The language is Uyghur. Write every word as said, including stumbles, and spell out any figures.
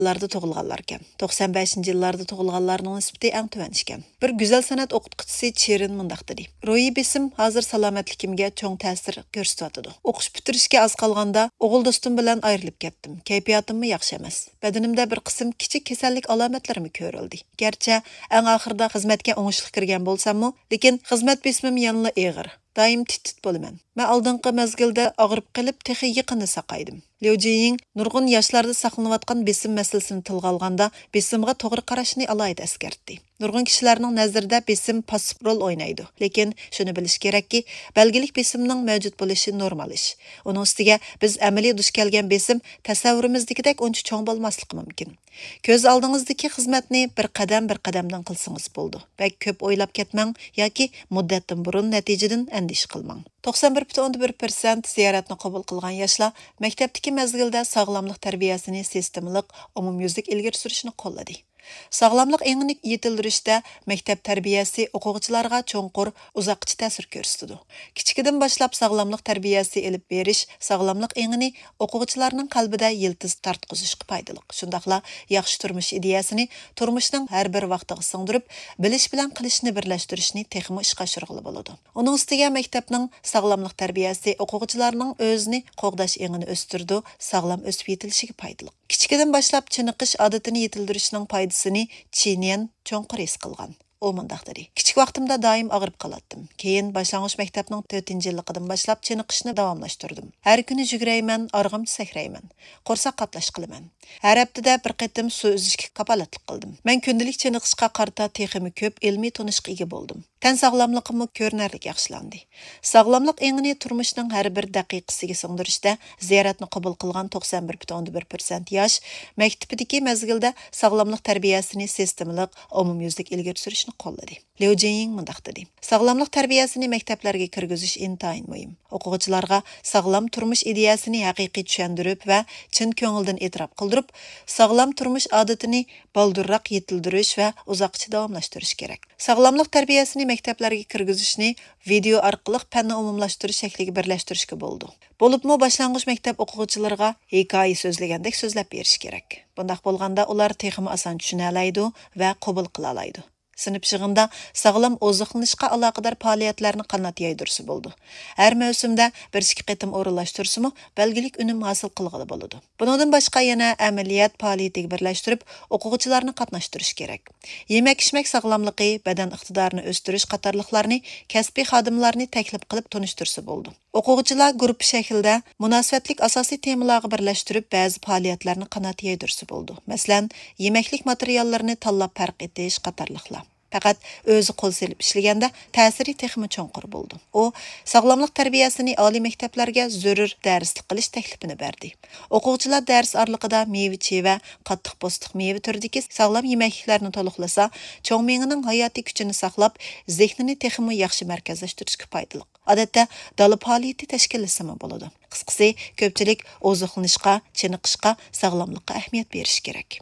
يىللاردا تۇغۇلغانلاركەن. توقسان بەشىنچى يىللاردا تۇغۇلغانلارنىڭ نىسبىتى ئەڭ تۆۋەن ئىكەن. بىر گۈزەل سەنئەت ئوقۇتقۇچىسى چېرىن مۇنداق دېدى: «روھىي بېسىم ھازىر سالامەتلىكىمگە چوڭ تەسىر كۆرسىتىۋاتىدۇ. ئوقۇش پۈتتۈرۈشكە ئاز قالغاندا ئوغۇل دوستۇم بىلەن ئايرىلىپ كەتتىم. كەيپىياتىممۇ ياخشى ئەمەس. بەدىنىمدە بىر قىسىم كىچىك كېسەللىك ئالامەتلىرىمۇ كۆرۈلدى. گەرچە ئەڭ ئاخىرىدا خىزمەتكە ئوڭۇشلۇق كىرگەن بولساممۇ، لېكىن خىزمەت بېسىمىم يەنىلا ئېغىر. دائىم تىت-تىت بولىمەن. مەن ئالدىنقى مەزگىلدە ئاغرىپ قېلىپ، تېخى يېقىندا ساقايدىم.» ليۇ جىيىڭ نۇرغۇن ياشلاردا ساقلىنىۋاتقان بېسىم مەسىلىسىنى تىلغا ئالغاندا، بېسىمغا توغرا قاراشنى ئالاھىدە ئەسكەرتتى. نۇرغۇن كىشىلەرنىڭ نەزىرىدە بېسىم پاسسىپ رول ئوينايدۇ. لېكىن شۇنى بىلىش كېرەككى، بەلگىلىك بېسىمنىڭ مەۋجۇت بولۇشى نورمال ئىش. ئۇنىڭ ئۈستىگە بىز ئەمەلىي دۇچ كەلگەن بېسىم تەسەۋۋۇرىمىزدىكىدەك ئۇنچە چوڭ بولماسلىقى مۇمكىن. كۆز ئالدىڭىزدىكى خىزمەتنى بىر قەدەم بىر قەدەمدىن قىلسىڭىز بولىدۇ. بەك كۆپ ئويلاپ كەتمەڭ ياكى مۇددەتتىن بۇرۇن نەتىجىدىن ئەندىشە قىلماڭ. توقسان بىر پۈتۈن ئوندىن بىر پىرسەنت زىيارەتنى قوبۇل قىلغان ياشلار مەكتەپتىكى مەزگىلدە ساغلاملىق تەربىيەسىنى سىستېمىلىق، ئومۇميۈزلۈك ئىلگىرى سۈرۈشنى قوللىدى. ساغلاملىق ئېڭىنى يېتىلدۈرۈشتە مەكتەپ تەربىيەسى ئوقۇغۇچىلارغا چوڭقۇر، ئۇزاققىچە تەسىر كۆرسىتىدۇ. كىچىكىدىن باشلاپ ساغلاملىق تەربىيەسى ئېلىپ بېرىش ساغلاملىق ئېڭىنى ئوقۇغۇچىلارنىڭ قەلبىدە يىلتىز تارتقۇزۇشقا پايدىلىق. شۇنداقلا ياخشى تۇرمۇش ئىدىيەسىنى تۇرمۇشنىڭ ھەر بىر ۋاقتىغا سىڭدۈرۈپ، بىلىش بىلەن قىلىشنى بىرلەشتۈرۈشنى تېخىمۇ ئىشقا ئاشۇرغىلى بولىدۇ. ئۇنىڭ ئۈستىگە مەكتەپنىڭ ساغلاملىق تەربىيەسى ئوقۇغۇچىلارنىڭ ئۆزىنى قوغداش ئېڭىنى ئۆستۈرىدۇ، ساغلام ئۆسۈپ يېتىلىشىگە پايدىلىق. كىچىكىدىن باشلاپ چېنىقىش ئادىتىنى يېتىلدۈرۈشنىڭ پايدىسىنى چىنيەن چوڭقۇر ھېس قىلغان. ئۇ مۇنداق دېدى: «كىچىك ۋاقتىمدا دائىم ئاغرىپ قالاتتىم. كېيىن باشلانغۇچ مەكتەپنىڭ تۆتىنچى يىللىقىدىن باشلاپ چېنىقىشنى داۋاملاشتۇردۇم. ھەر كۈنى يۈگۈرەيمەن، ئارغامچا سەكرەيمەن، قورساق قاپلاش قىلىمەن. ھەر ھەپتىدە بىر قېتىم سۇ ئۈزۈشكە كاپالەتلىك قىلدىم. مەن كۈندىلىك چېنىقىشقا قارىتا تېخىمۇ كۆپ ئىلمىي تونۇشقا ئىگە بولدۇم. تەن ساغلاملىقىممۇ كۆرۈنەرلىك ياخشىلاندى.» ساغلاملىق ئېڭىنى تۇرمۇشنىڭ ھەر بىر دەقىقىسىگە سىڭدۈرۈشتە زىيارەتنى قوبۇل قىلغان توقسان بىر پۈتۈن ئوندىن بىر پىرسەنت ياش مەكتىپىدىكى مەزگىلدە ساغلاملىق تەربىيەسىنى سىستېمىلىق، ئومۇميۈزلۈك ئىلگىرى سۈرۈشنى قوللىدى. ليۇ جىيىڭ مۇنداق دېدى: «ساغلاملىق تەربىيەسىنى مەكتەپلەرگە كىرگۈزۈش ئىنتايىن مۇھىم. ئوقۇغۇچىلارغا ساغلام تۇرمۇش ئىدىيەسىنى ھەقىقىي چۈشەندۈرۈپ ۋە چىن كۆڭۈلدىن ئېتىراپ قىلدۇرۇپ، ساغلام تۇرمۇش ئادىتىنى بالدۇرراق يېتىلدۈرۈش ۋە ئۇزاققىچە داۋاملاشتۇرۇش كېرەك. ساغلاملىق تەربىيەسىنى مەكتەپلەرگە كىرگۈزۈشنى ۋىدېئو ئارقىلىق پەننى ئومۇملاشتۇرۇش شەكلىگە بىرلەشتۈرۈشكە بولىدۇ. بولۇپمۇ باشلانغۇچ مەكتەپ ئوقۇغۇچىلىرىغا ھېكايە سۆزلىگەندەك سۆزلەپ بېرىش كېرەك. بۇنداق بولغاندا ئۇلار تېخىمۇ ئاسان چۈشىنەلەيدۇ ۋە قوبۇل قىلالايدۇ. سىنىپ يىغىندا ساغلام ئوزۇقلىنىشقا ئالاقىدار پائالىيەتلەرنى قانات يايدۇرسا بولىدۇ. ھەر مەۋسۇمدا بىر ئىككى قېتىم ئورۇنلاشتۇرسىمۇ بەلگىلىك ئۈنۈم ھاسىل قىلغىلى بولىدۇ. بۇنىڭدىن باشقا يەنە ئەمەلىيەت پائالىيىتىگە بىرلەشتۈرۈپ ئوقۇغۇچىلارنى قاتناشتۇرۇش كېرەك. يېمەك-ئىچمەك ساغلاملىقى، بەدەن ئىقتىدارىنى ئۆستۈرۈش قاتارلىقلارنى كەسپىي خادىملارنى تەكلىپ قىلىپ تونۇشتۇرسا بولىدۇ. ئوقۇغۇچىلار گۇرۇپپا شەكلىدە مۇناسىۋەتلىك ئاساسىي تېمىلارغا بىرلەشتۈرۈپ بەزى پائالىيەتلەرنى قانات يايدۇرسا بولىدۇ. مەسىلەن، يېمەكلىك ماتېرىياللىرىنى تاللاپ پەرق ئېتىش قاتارلىقلار. پەقەت ئۆزى قول سېلىپ ئىشلىگەندە تەسىرى تېخىمۇ چوڭقۇر بولىدۇ. ئۇ ساغلاملىق تەربىيەسىنى ئالىي مەكتەپلەرگە زۆرۈر دەرسلىك قىلىش تەكلىپىنى بەردى. ئوقۇغۇچىلار دەرس ئارىلىقىدا مېۋە-چېۋە، قاتتىق پوستىق مېۋە تۈرىدىكى ساغلام يېمەكلىكلەرنى تولۇقلىسا، چوڭ مېڭىنىڭ ھاياتىي كۈچىنى ساقلاپ، زېھنىنى تېخىمۇ ياخشى مەركەزلەشتۈرۈشكە پايدىلىق. ئادەتتە دالا پائالىيىتى تەشكىللىسىمۇ بولىدۇ. قىسقىسى، كۆپچىلىك ئوزۇقلىنىشقا، چېنىقىشقا، ساغلاملىققا ئەھمىيەت بېرىشى كېرەك.